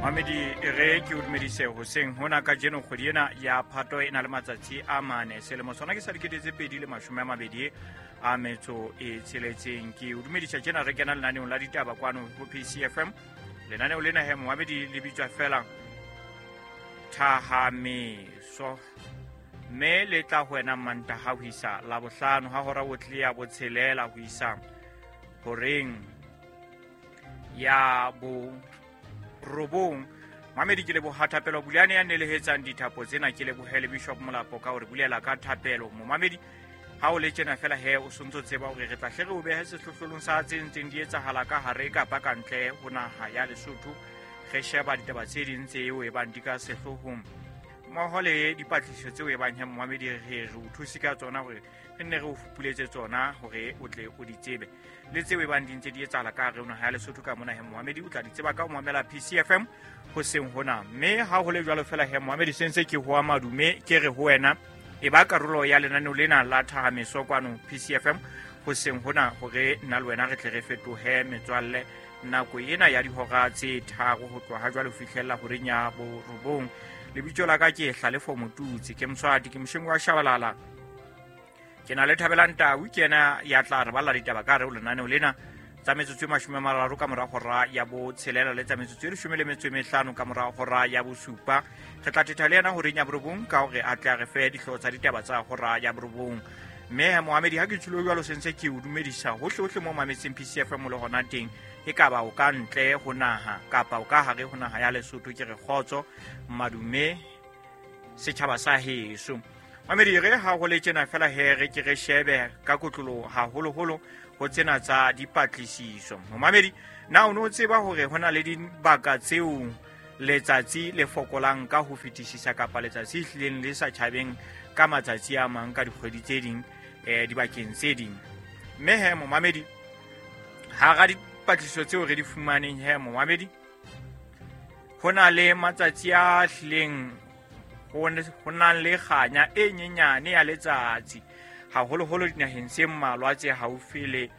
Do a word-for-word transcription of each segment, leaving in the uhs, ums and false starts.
Mamedi re ke o dumedise hoseng hona kajeno kgwedi ena ya Phato e na le matsatsi a mane selemo sona ke sa dikete tse pedi le mashome a mabedi a metso e tsheletseng. Ke o dumedisa tjena re kena lenaneong la ditaba kwano ho P C F M. Lenaneo lena he momamedi le bitswa fela Thahameso, mme le tla ho wena Mantaha ho isa Labohlano ha hora o tle ya botshelela ho isa horeng ya bo robong. Mamedi ke leboha thapelo Bulane ya nelehetsang dithapo tsena, ke lebohele Bishop Molapo ka hore bulela ka thapelo. Momamedi ha o le tjena fela he o sontso tseba hore re tla hle re o behe sehlohlolong sa tse ntseng di etsahala ka hare kapa ka ntle ho naha ya Lesotho. Re sheba ditaba tse ding tseo e bang di ka sehloohong mmoho le dipatlisiso tseo e bang he momamedi re re o thuse ka tsona hore re nne re o fupuletse tsona hore o tle o di tsebe, le tseo e bang di ntse di etsahala ka hare ho naha ya Lesotho ka mona he momamedi o tla di tseba ka ho mamela P C F M hoseng hona. Mme ha ho le jwalo fela he momamedi se ntse ke hoa madume ke re ho wena e ba karolo ya lenaneo lena la Thahameso kwano P C F M hoseng hona hore nna le wena re tle re fetohe metswalle nako ena ya dihora tse tharo ho tloha jwale ho fihlella horeng ya borobong. Lebitso la ka ke Hlalefo Motutsi, ke Mswati, ke mosheng wa Shabalala. Ke na le Thabelang Tau, ke yena ya tla re balla ditaba ka hare ho lenaneo lena tsa metsotso e mashome a mararo ka mora hora ya botshelela le tsa metsotso e leshome le metso e mehlano ka mora hora ya bosupa. Re tla thetha le yena horeng ya borobong ka hore a tle a re fe dihlooho tsa ditaba tsa hora ya borobong. Mme Mohamedi ha ke tshilo jwalo sentse ke o dumedisa hohle hohle mo mametseng P C F M le hona teng, e ka ba o ka ntle ho naha kapa o ka hare ho naha ya Lesotho, ke re kgotso madume setjhaba sa heso. Mamedi re ha ho le tjena fela he re ke re shebe ka kotlolo haholoholo ho tsena tsa dipatlisiso. Mamedi na o no tseba hore hona le dibaka tseo letsatsi le fokolang ka ho fetisisa kapa letsatsi hlileng le sa tjhabeng ka matsatsi a mang ka dikgwedi tse ding eh dibakeng tse ding. Mme he momamedi hara dipatlisiso tseo re di fumaneng he momamedi ho na le matsatsi a hlileng ho nang le kganya e nyenyane ya letsatsi haholoholo dinaheng tse mmalwa tse haufi le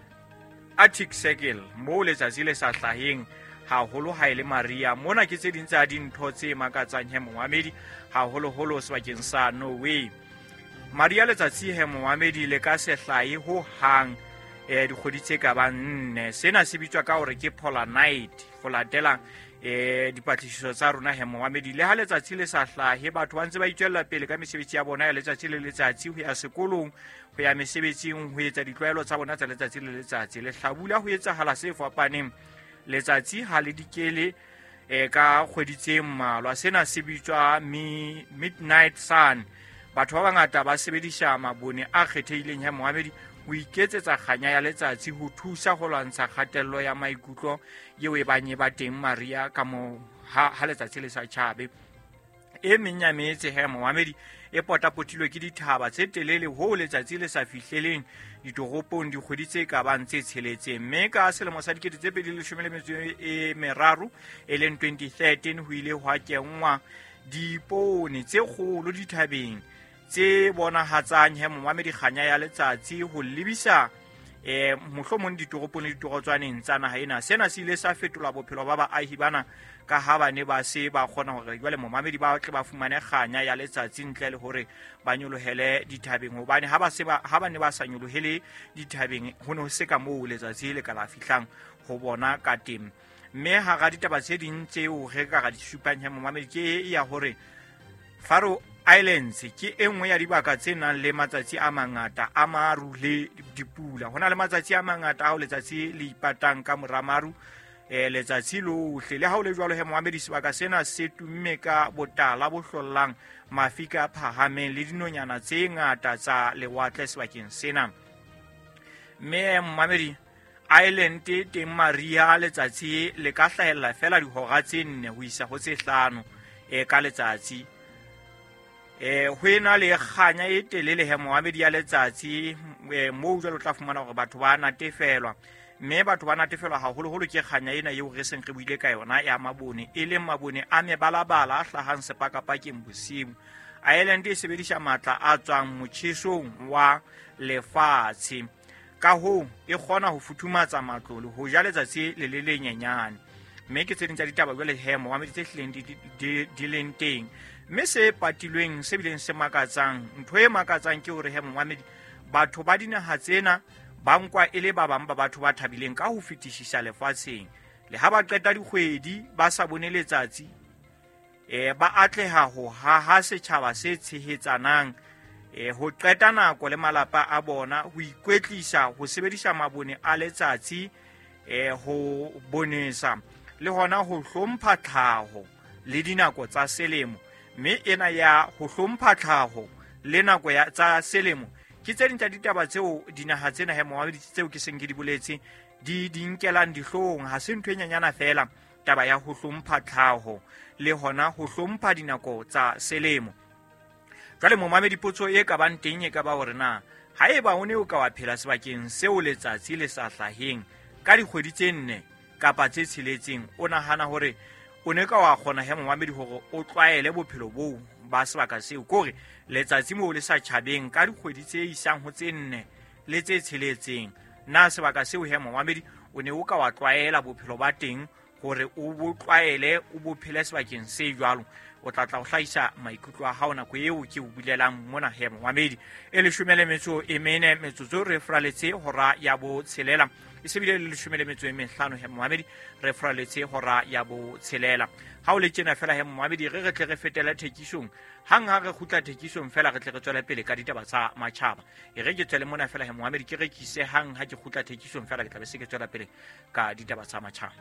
Arctic Circle moo letsatsi le sa hlaheng haholo ha e le mariha. Mona ke tse ding tsa dintho tse makatsang he momamedi haholoholo sebakeng sa Norway. Mariha letsatsi he momamedi le ka se hlahe ho hang eh dikgwedi tse ka bang nne. Sena se bitswa ka hore ke polar night ho latela eh dipatlisiso tsa rona he momamedi. Le ha letsatsi le sa hlahe batho ba ntse ba itswella pele ka mesebetsi ya bona ya letsatsi le letsatsi, ho ya sekolong, ho ya mesebetsing, ho etsa ditlwaelo tsa bona tsa letsatsi le letsatsi. Lehlabula ho etsahala se fapaneng, letsatsi ha le dikele eh ka kgwedi tse mmalwa. Sena se bitswa midnight sun. Batho ba bangata ba sebedisa mabone a kgethehileng he momamedi ho iketsetsa kganya ya letsatsi ho thusa ho lwantsha kgatello ya maikutlo eo e bang e ba teng mariha ka mo ha, ha letsatsi le sa tjhabe. E meng ya metse he momamedi e potapotilwe ke dithaba tse telele ho letsatsi le sa fihleleng ditoropong dikgwedi tse ka bang tse tsheletseng. Mme ka selemo sa dikete tse pedi le leshome le metso e meraro e leng twenty thirteen ho ile hwa kenngwa dipone tse kgolo dithabeng tse bonahatsang he momamedi kganya ya letsatsi ho lebisa eh mohlomong ditoropong le ditorotswaneng tsa naha ena. Sena se ile sa fetola bophelo ba baahi bana ka ha ba ne ba se ba kgona hore jwale momamedi ba tle ba fumane kganya ya letsatsi ntle le hore ba nyolohele dithabeng, hobane ha ba se ba ha ba ne ba sa nyolohele dithabeng ho ne ho se ka moo letsatsi le ka la fihlang ho bona ka teng. Mme hara ditaba tse ding tseo re ka ra di supang he momamedi ke ya hore Faroe Islands ke e nngwe ya dibaka tse nang le matsatsi a mangata a maru le dipula. Ho na le matsatsi a mangata ao letsatsi le ipatang ka mora maru eh letsatsi lohle. Le ha ho le jwalo he momamedi sebaka sena se tumme ka botala bo hlollang, mafika a phahameng le dinonyana tse ngata tsa lewatle sebakeng sena. Mme momamedi Island teng mariha letsatsi le ka hlahella fela dihora tse nne ho isa ho tse hlano eh ka letsatsi. Eh ho ena le kganya e telele he momamedi ya letsatsi eh moo jwalo tla fumana hore batho ba natefelwa, mme batho ba natefelwa haholoholo ke kganya ena eo re seng re buile ka yona ya mabone, e leng mabone a mebalabala a hlahang sepakapakeng bosiu. Island e sebedisa matla a tswang motjhesong wa lefatshe, ka hoo e kgona ho futhumatsa matlo le ho ja letsatsi le le lenyenyane. Mme ke tse ding tsa ditaba jwale he momamedi tse hlileng di, di, di leng teng. Mme se patilweng se bileng se makatsang, ntho e makatsang ke hore he momamedi, batho ba dinaha tsena ba nkwa e le ba bang ba batho ba thabileng ka ho fetisisa lefatsheng. Le ha ba qeta dikgwedi ba sa bone letsatsi, eh ba atleha ho haha setjhaba se tshehetsanang, eh ho qeta nako le malapa a bona, ho ikwetlisa, ho sebedisa mabone a letsatsi, eh ho bonesa le hona ho hlompha tlhaho le dinako tsa selemo. Mme ena ya ho hlompha tlhaho le nako ya tsa selemo ke tse ding tsa ditaba tseo dinaha tsena he momamedi tseo ke seng ke di boletse di di nkelang dihlong. Ha se ntho e nyenyana fela taba ya ho hlompha tlhaho le hona ho hlompha dinako tsa selemo. Jwale momamedi, potso e ka bang teng e ka ba hore na haeba o ne o ka wa phela sebakeng seo letsatsi le sa hlaheng ka dikgwedi tse nne kapa tse tsheletseng, o nahana hore o ne ka wa kgona he momamedi hore o tlwaele bophelo boo ba sebaka seo, kore letsatsi moo le sa tjhabeng ka dikgwedi tse isang ho tse nne le tse tsheletseng, na sebaka seo he momamedi o ne o ka wa tlwaela bophelo ba teng hore o bo tlwaele o bo phele sebakeng se jwalo? O tla tla o hlahisa maikutlo a hao nako eo ke o bulelang mona he momamedi. E leshome le metso e mene metsotso re fraletse hora ya botshelela, e se bile le leshome le metso e mehlano he momamedi re fraletse hora ya botshelela. Ha o le tjena fela he momamedi, re re tle re fetele thekisong. Hang ha re kgutla thekisong fela re tle re tswele pele ka ditaba tsa matjhaba. E re ke tswele mona fela he momamedi, ke rekise hang ha ke kgutla thekisong fela ke tla be se ke tswela pele ka ditaba tsa matjhaba.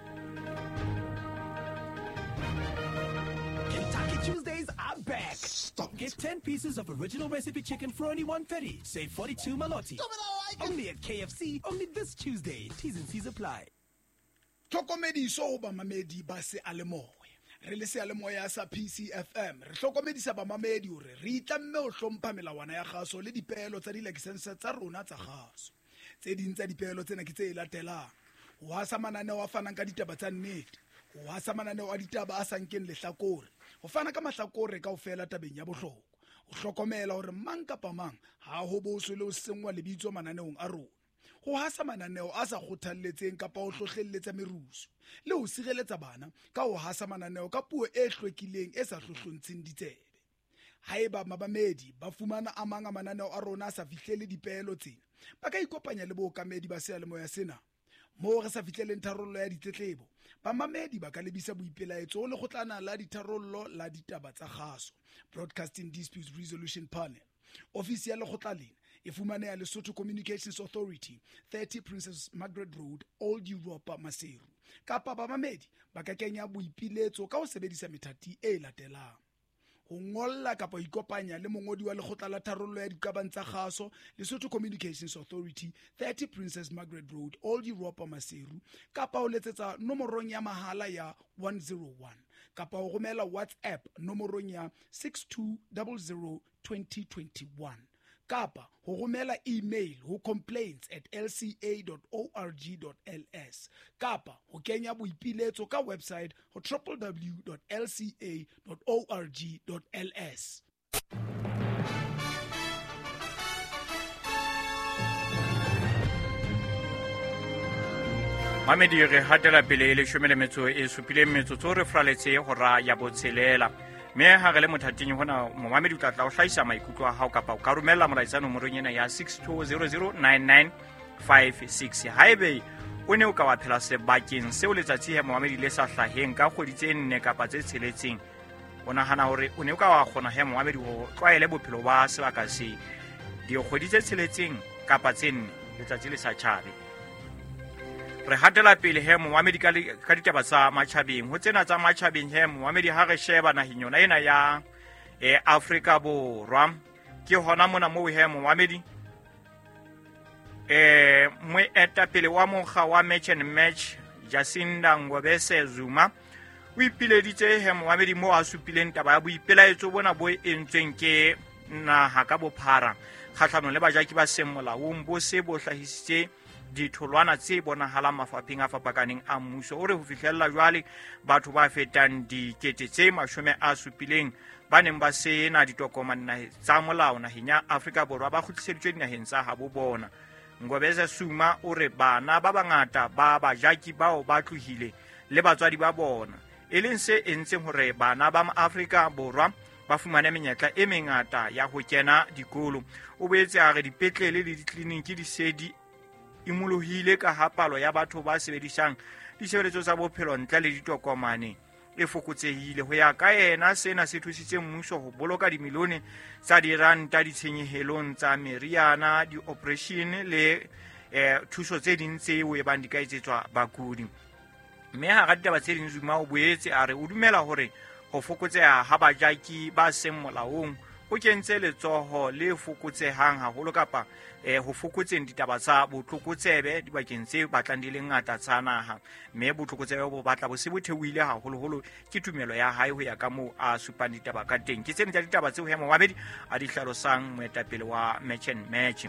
Kentucky Tuesdays are back. Stop. Get ten pieces of original recipe chicken for only one thirty. Save forty-two maloti. Stop it, I like it. Only at K F C, only this Tuesday. T's and C's apply. Tlhokomediso ho bamamedi ba seyalemoya. Re le seyalemoya sa P C F M, re hlokomedisa bamamedi hore re itlamme ho hlompha melawana ya kgaso le dipeelo tsa dilakesense tsa rona tsa kgaso. Tse ding tsa dipeelo tsena ke tse latelang: ho hasa mananeo a fanang ka ditaba tsa nnete, ho hasa mananeo a ditaba a sa nkeng lehlakore, ho fana ka mahlakore kaofela tabeng ya bohlokwa, ho hlokomela hore mang kapa mang ha ho boswe le ho senngwa lebitso mananeong a rona, ho hasa mananeo a sa kgothalletseng kapa ho hlohlelletsa merusu, le ho sireletsa bana ka ho hasa mananeo ka puo e hlwekileng e sa hlohlontsheng ditsebe. Haeba mabamedi ba fumana a mang a mananeo a rona a sa fihlele dipeelo tsena, ba ka ikopanya le bookamedi ba seyalemoya sena. Moo re sa fihleleng tharollo ya ditletlebo, bamamedi ba ka lebisa boipelaetso ho lekgotlana la ditharollo la ditaba tsa kgaso, Broadcasting Disputes Resolution Panel. Ofisi ya lekgotla lena e fumaneha Lesotho Communications Authority, thirty Princess Margaret Road, Old Europa, Maseru. Kapa bamamedi ba ka kenya boipiletso ka ho sebedisa methati e latelang: ho ngolla kapa ho ikopanya le mongodi wa lekgotla la tharollo ya diqabang tsa kgaso, Lesotho Communications Authority, thirty Princess Margaret Road, Old Europa, Maseru, kapa ho letsetsa nomorong ya mahala ya one zero one, kapa ho romela WhatsApp nomorong ya six two zero zero twenty twenty-one, kapa ho romela email ho complaints at l c a dot org dot l s, kapa ho kenya boipiletso ka website ho w w w dot l c a dot org dot l s. Mamedi, re hatela pele e leshome le metso e supileng metsotso re fraletse hora ya botshelela. Mme ha re le mothating hona momamedi o tla tla o hlahisa maikutlo a hao kapa o ka romella molaetsa nomorong ena ya six two zero zero nine nine five six. Haebe o ne o ka wa phela sebakeng seo letsatsi he momamedi le sa hlaheng ka kgwedi tse nne kapa tse tsheletseng, o nahana hore o ne o ka wa kgona he momamedi ho tlwaele bophelo ba sebaka se dikgwedi tse tsheletseng kapa tse nne letsatsi le sa tjhabe? Re hatela pele he momamedi ka ka ditaba tsa matjhabeng. Ho tsena tsa matjhabeng he momamedi, ha re sheba naheng yona ena ya e Afrika Borwa, ke hona mona moo he momamedi eh moetapele wa mokga wa Match and Match Jacinda Ngobese Zuma o ipileditse he momamedi moo a supileng taba ya boipelaetso bona bo entsweng ke naha ka bophara kgahlanong le bajaki ba seng molaong bo se bo hlahisitse ditholwana tse bonahalang mafapheng a fapakaneng a mmuso. O re ho fihlella jwale batho ba fetang dikete tse mashome a supileng ba neng ba sena ditokomane tsa molao naheng ya Afrika Borwa ba kgutliseditswe dinaheng tsa habo bona. Ngobese Zuma o re bana ba bangata ba bajaki bao ba tlohile le batswadi ba bona, e leng se entseng hore bana ba Afrika Borwa ba fumane menyetla e mengata ya ho kena dikolo. O boetse a re dipetlele le ditleliniki di se di imolohile ka ha palo ya batho ba sebedisang ditshebeletso tsa bophelo ntle le ditokomane e fokotsehile. Ho ya ka yena, sena se thusitse mmuso ho boloka dimilione tsa diranta ditshenyehelong tsa meriana, di-operation le eh, thuso tse ding tseo e bang di ka etsetswa bakudi. Mme hara ditaba tse ding, Zuma o boetse a re o dumela hore ho fokotseha ha bajaki ba seng molaong ho kentse letsoho le fokotsehang haholo kapa eh, ho fokotseng ditaba tsa botlokotsebe dibakeng tse batlang di le ngata tsa naha, mme botlokotsebe bo batla bo se bo theohile haholoholo ke tumelo ya hae ho ya ka moo a supang ditaba ka teng. Ke tsena tsa ditaba tseo he momamedi a di hlalosang moetapele wa Match and Match.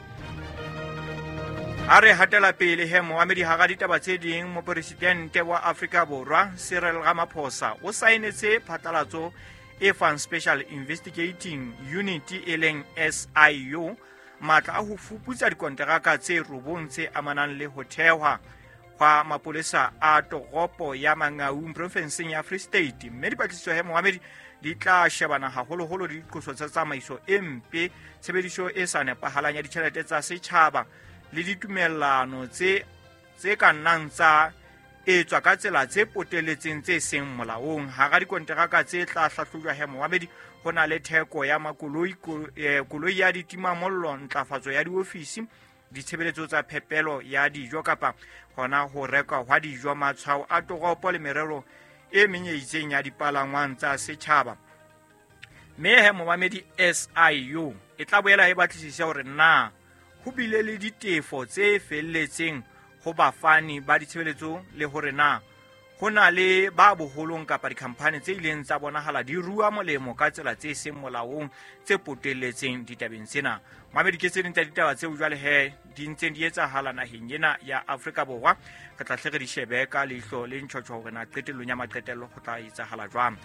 A re hatela pele he momamedi, hara ditaba tse ding, mopresidente wa Afrika Borwa Cyril Ramaphosa o saenetse phatlalatso e fang Special Investigating Unit e leng S I U matla a ho fuputsa dikonteraka tse robong tse amanang le ho thehwa hwa mapolesa a toropo ya Mangaung profinseng ya Free State. Mme dipatlisiso he momamedi di tla shebana haholoholo le diqoso tsa tsamaiso e mpe, tshebediso e sa nepahalang ya ditjhelete tsa setjhaba le ditumellano tse tse ka nnang tsa etswa ka tsela tse poteletseng tse seng molaong. Hara dikonteraka tse tla hlahlojwa he momamedi ho na le theko ya makoloi, koloi ya ditimamollo, ntlafatso ya diofisi, ditshebeletso tsa phepelo ya dijo kapa hona ho rekwa hwa dijo, matshwao a toropo le merero e meng e itseng ya dipalangwang tsa setjhaba. Mme he momamedi, S I U e tla boela e batlisise hore na ho bile le ditefo tse felletseng ho bafani ba ditshebeletso le hore na ho na le ba boholong kapa dikhamphani tse ileng tsa bonahala di rua molemo ka tsela tse seng molaong tse potelletseng ditabeng tsena. Mamedi, ke tse ding tsa ditaba tseo jwale he di ntseng di etsahala naheng ena ya Afrika Borwa. Re tla hle re di shebe ka leihlo le ntjhotjho hore na qetellong ya maqetello ho tla etsahala jwang.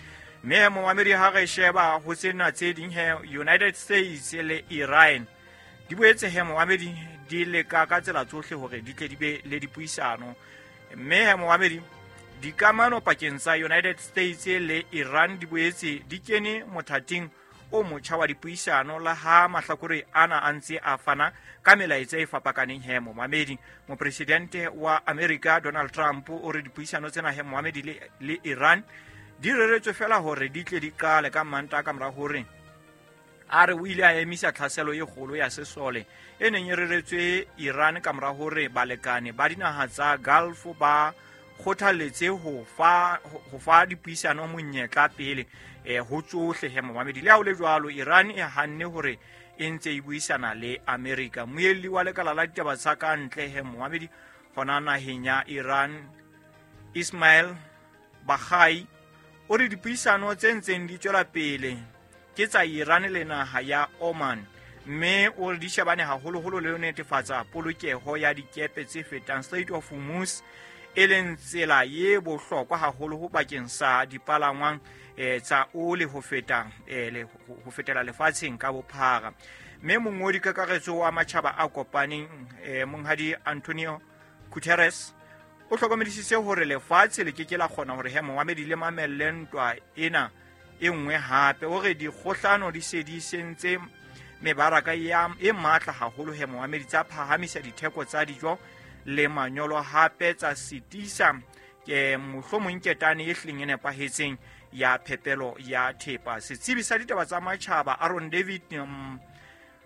Mme momamedi, ha re sheba ho tsena tse ding he, United States le Iran di boetse he momamedi di leka ka tsela tsohle hore di tle di be le dipuisano. Mme he momamedi, dikamano pakeng tsa United States le Iran di boetse di kene mothating o motjha wa dipuisano la ha mahlakore ana a ntse a fana ka melaetsa e fapakaneng he momamedi. Mopresidente wa America Donald Trump o re dipuisano tsena he momamedi le, le Iran di reretswe fela hore di tle di qale ka Mantaha ka mora hore a re o ile a emisa tlhaselo e kgolo ya sesole e neng e reretswe Iran ka mora hore balekane ba dinaha tsa Gulf ba kgothaletse ho fa ho fa dipuisano monyetla pele eh ho tsohle he momamedi. Le ha ho le jwalo, Iran e hanne hore e ntse e buisana le America. Moelli wa lekala la ditaba tsa ka ntle he momamedi hona naheng ya Iran Ismail Baghai o re dipuisano tse ntseng di tswela pele ke tsa Iran le naha ya Oman, mme o re di shebane haholoholo le ho netefatsa polokeho ya dikepe tse fetang Strait of Hormuz, e leng tsela ye bohlokwa haholo ho bakeng sa dipalangwang eh, tsa oli ho feta eh, le, ho fetela lefatsheng ka bophara. Mme mongodi kakaretso wa matjhaba a kopaneng eh, monghadi Antonio Guterres o hlokomedisitse hore lefatshe le ke ke la kgona hore he momamedi le mamelle ntwa ena e nngwe hape. O re dikgohlano di se di sentse mebaraka ya e matla haholo he momamedi, tsa phahamisa ditheko tsa dijo le manyolo, hape tsa sitisa ke mohlomong ketane e hleng e nepahetseng ya phepelo ya thepa. Setsebi sa ditaba tsa matjhaba Aaron David um,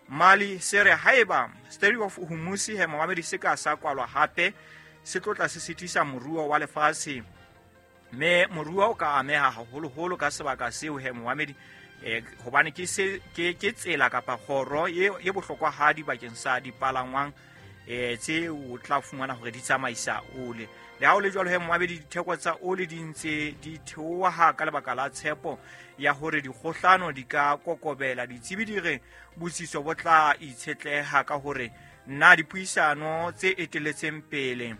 Mali se re haeba Strait of Hormuz he momamedi se ka sa kwalwa hape se tlo tla se sitisa moruo wa lefatshe, mme moruo o ka ameha haholoholo ka sebaka seo he momamedi eh, hobane ke se ke ke tsela kapa kgoro e e bohlokwahadi bakeng sa dipalangwang eh tse o tla fumana hore di tsamaisa ole. Le ha o le jwalo he momamedi, ditheko tsa ole di ntse di theoha ka lebaka la tshepo ya hore dikgohlano di ka kokobela. Ditsebi di re botsitso bo tla itshetleha ka hore na dipuisano tse eteletseng pele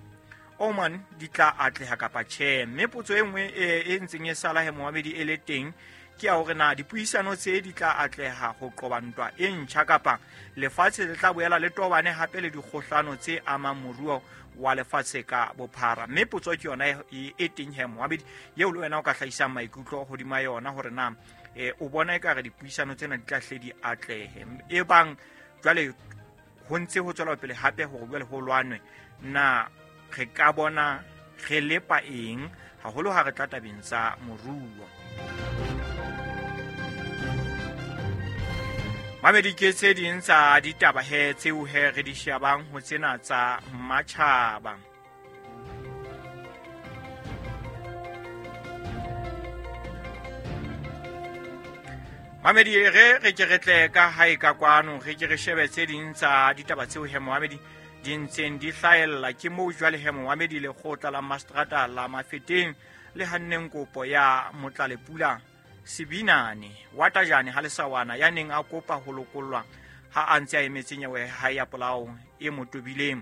Oman di tla atleha kapa tjhe. Mme potso e nngwe e ntseng e sala he momamedi e le teng ke ya hore na dipuisano tse di tla atleha ho qoba ntwa e ntjha kapa lefatshe le tla boela le tobane hape le dikgohlano tse amang moruo wa lefatshe ka bophara. Mme potso ke yona e teng he momamedi eo le wena o ka hlahisang maikutlo hodima yona hore na e o bona ekare dipuisano tsena di tla hle di atlehe. E bang jwale ho ntse ho tswela pele hape hore jwale ho lwanwe, na re ka bona re lepa eng haholo ha re tla tabeng tsa moruo. Mamedi ke tse ding tsa ditaba he tseo he re di shebang ho tsena tsa matjhaba. Mamedi re re ke re tle ka hae ka kwano re ke re shebe tse ding tsa ditaba tseo he momamedi di ntseng di hlahella. Ke moo jwale he momamedi lekgotla la Mastrata la Mafeteng le hanneng kopo ya Motlalepula Sebinane wa Tajane ha lesawana ya neng a kopa ho lokollwa ha a ntse a emetse nyewe ha ya polao e mo tobileng.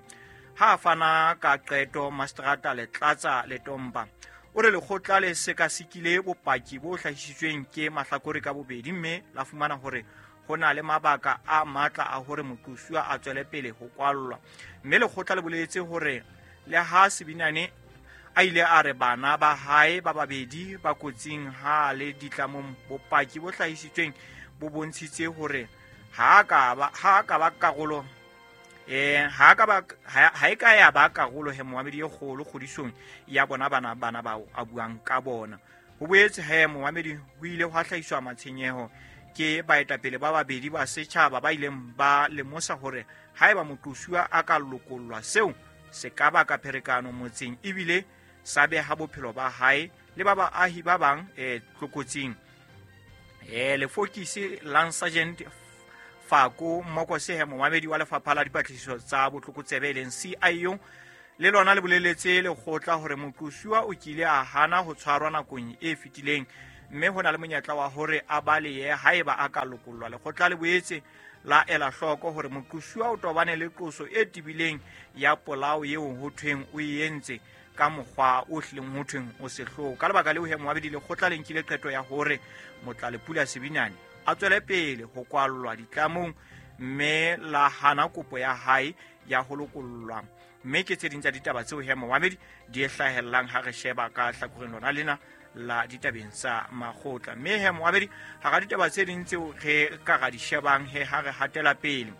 Ha a fana ka qeto Mastrata Letlatsa Letomba o re lekgotla le sekasekile bopaki bo hlahisitsweng ke mahlakore ka bobedi mme la fumana hore ho na le mabaka a matla a hore moqosuwa a tswele pele ho kwallwa. Mme lekgotla le boletse hore le ha Sebinane a ile a re bana ba hae ba babedi ba kotsing ha le ditlamong, bopaki bo hlahisitsweng bo bontshitse hore ha ka ba ha ka ba karolo eh ha ka ba ha e ka ya ba karolo he momamedi e kgolo kgodisong ya bona bana bana bao a buang ka bona. Ho boetse he momamedi ho ile hwa hlahiswa matshenyeho ke baetapele ba babedi ba setjhaba ba ileng ba lemosa hore haeba moqosuwa a ka lokollwa seo se ka baka pherekano motseng ebile sa beha bophelo ba hae le ba baahi ba bang eh tlokotsing. Eh lefokisi Lance Sergeant Fako Mokose he momamedi wa lefapha la dipatlisiso tsa botlokotsebe e leng C I O le lona le boleletse lekgotla hore moqosuwa o kile a hana ho tshwarwa nakong e fetileng mme ho na le monyetla wa hore a balehe haeba a ka lokollwa. Lekgotla le boetse la ela hloko hore moqosuwa o tobane le qoso e tebileng ya polao eo ho thweng o e entse ka mokgwa o hlileng ho thweng o sehloho. Ka lebaka leo he momamedi lekgotla le nkile qeto ya hore Motlalepula Sebinane a tswele pele ho kwallwa ditlamong mme la hana kopo ya hae ya ho lokollwa. Mme ke tse ding tsa ditaba tseo he momamedi di hlahellang ha re sheba ka hlakoreng lona lena la ditabeng tsa makgotla. Mme he momamedi hara ditaba tse ding tseo re ka ra di shebang he ha re hatela pele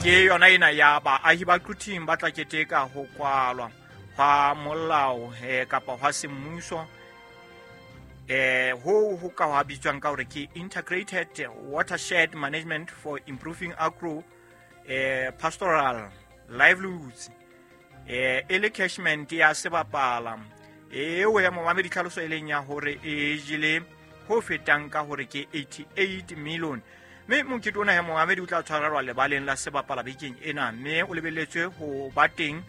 ke yona ena ya baahi ba Quthing ba tla keteka ho kwalwa hwa molao he kapa hwa semmuso eh ho ho ka hwa bitswang ka hore ke Integrated Watershed Management for Improving Agro eh Pastoral Livelihoods eh e le catchment ya sebapala eo ya momamedi tlhaloso e leng ya hore e jele ho fetang ka hore ke eighty-eight million. Mme mokete ona ya momamedi o tla tshwarelwa lebaleng la sebapala bekeng ena mme o lebelletswe ho ba teng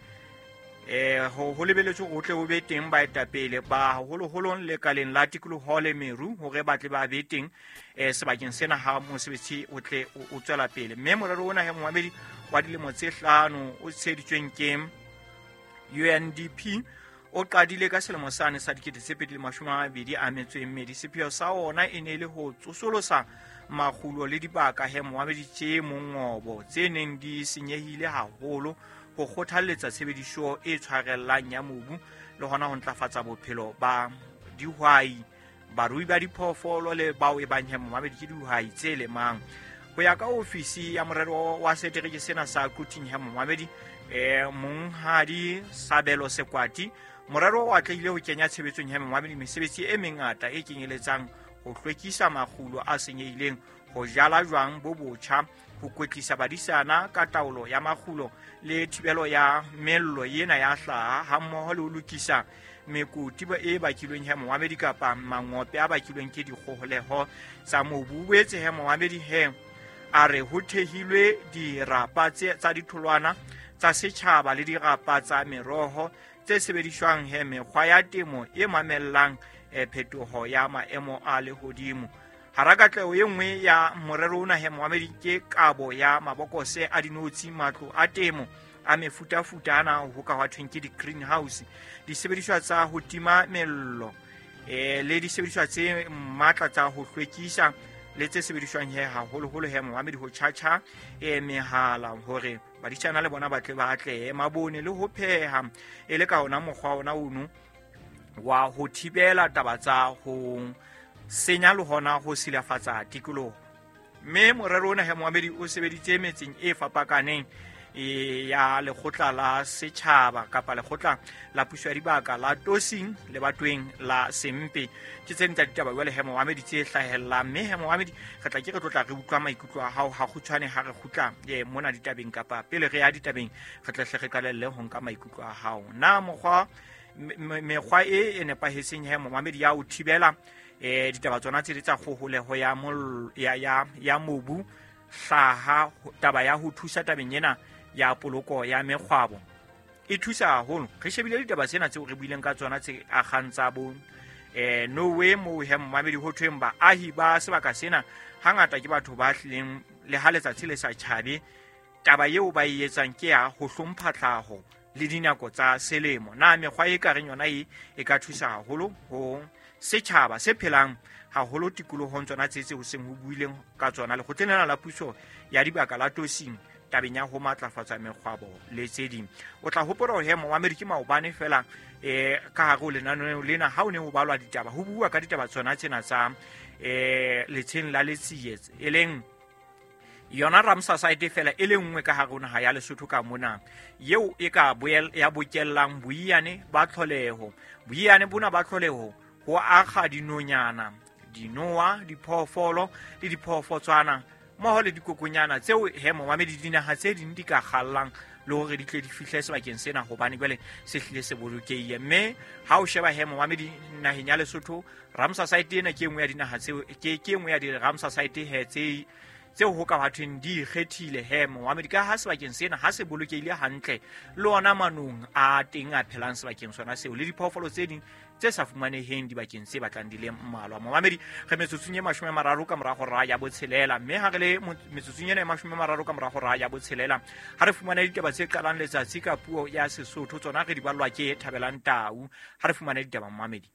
eh ho ho lebelletswe ho tle ho be teng baetapele ba haholoholo lekaleng la tikoloho le meru hore ba tle ba be teng eh sebakeng sena ha mosebetsi o tle o tswela pele. Mme morero ona ya momamedi wa dilemo tse hlano o tsheditsweng ke U N D P o qadile ka selemo sane sa dikete tse pedi le mashome a mabedi a metso e mmedi. Sepheo sa ona e ne e le ho tsosolosa makgulo le dibaka he momamedi tse mongobo tse neng di senyehile haholo, ho kgothalletsa tshebediso e tshwarellang ya mobu le hona ho ntlafatsa bophelo ba dihwai, barui ba diphoofolo le bao e bang he momamedi ke dihwai tse lemang. Ho ya ka ofisi ya morero wa setereke sena sa Quthing he momamedi eh monghadi Sabelo Sekwati, morero o atlehile ho kenya tshebetsong ya momamedi mesebetsi e mengata e kenyeletsang ho hlwekisa makgulo a senyehileng, ho jala jwang bo botjha, ho kwetlisa badisana ka taolo ya makgulo le thibelo ya mello ena ya hlaha, hammoho le ho lokisa mekoti e bakilweng he momamedi kapa mangope a bakilweng ke dikgoholeho tsa mobu. O boetse he momamedi he a re ho thehilwe dirapa tsa ditholwana tsa setjhaba le dirapa tsa meroho tse sebediswang he mekgwa ya temo e mamellang phetoho ya maemo a lehodimo. Hara katleho e nngwe ya morero ona he momamedi ke kabo ya mabokose a dinotshi, matlo a temo a mefutafuta ana ho ka hwa thweng ke di-greenhouse, disebediswa tsa ho tima mello eh le disebediswa tse matla tsa ho hlwekisa le tse sebediswang he haholoholo he momamedi ho tjhatjha eh mehala hore Baditjhana le bona ba tle ba atlehe mabone le ho pheha e le ka ona mokgwa ona ono wa ho thibela taba tsa ho senya le hona ho silafatsa tikoloho. Mme morero ona he moamedi o sebeditse metseng e fapakaneng e ya lekgotla la setjhaba kapa lekgotla la puso ya dibaka la Tosing le batweng la Sempe. Ke tse ding tsa ditaba jwale he moamedi tse hlahellang, mme he moamedi re tla ke re tlotla re utlwa maikutlo a hao ha kgutshwane ha re kgutla e mona ditabeng kapa pele re ya ditabeng re tle hle re qalelle ho nka maikutlo a hao. Na mokgwa mekgwa e e nepahetseng he moamedi ya o thibela eh ditaba tsona tse di tsa kgoholeho ya mol ya ya ya mobu hlaha taba ya ho thusa tabeng ena ya poloko ya mekgwabo e thusa haholo. Re shebile ditaba tsena tseo re buileng ka tsona tse akgang tsa bo eh Norway mo he momamedi ho thweng baahi ba sebaka sena hangata ke batho ba hlileng le ha letsatsi le sa tjhabe, taba eo ba e etsang ke ya ho hlompha tlhaho le dinako tsa selemo. Na mekgwa e ka reng yona e e ka thusa haholo ho setjhaba se phelang haholo tikolohong tsona tse tse ho seng ho buileng ka tsona lekgotleng lena la puso ya dibaka la Tosing tabeng ya ho matlafatsa mekgwabo le tse ding. O tla hopola hore he moamedi ke maobane fela eh ka hare ho lenaneo lena ha o ne ho balwa ditaba ho bua ka ditaba tsona tsena tsa eh letsheng la Letsie e leng yona Ramsar site fela e le nngwe ka hare ho naha ya Lesotho ka mona eo e ka boel ya bokellang boiyane ba tlholeho. Boiyane bona ba tlholeho ho akga dinonyana, dinoa, diphoofolo le diphoofotswana mmoho le dikokonyana tseo he momamedi dinaha tse ding di ka kgallang le hore di tle di fihle sebakeng sena hobane jwale se hlile se bolokehile. Mme ha o sheba he momamedi naheng ya Lesotho Ramsar site ena ke e nngwe ya dinaha tseo ke ke e nngwe ya di-Ramsar site he tse tseo ho ka bathweng di ikgethile he momamedi ka ha sebakeng sena ha se bolokehile hantle le ona manong a teng a phelang sebakeng sona seo le diphoofolo tse ding tse sa fumaneheng dibakeng tse batlang di le mmalwa. Momamedi re metsotsong e mashome a mararo ka mora hora ya botshelela, mme ha re le metsotsong ena e mashome a mararo ka mora hora ya botshelela ha re fumane ditaba tse qalang letsatsi ka puo ya Sesotho tsona re di ballwa ke Thabelang Tau. Ha re fumane ditaba momamedi.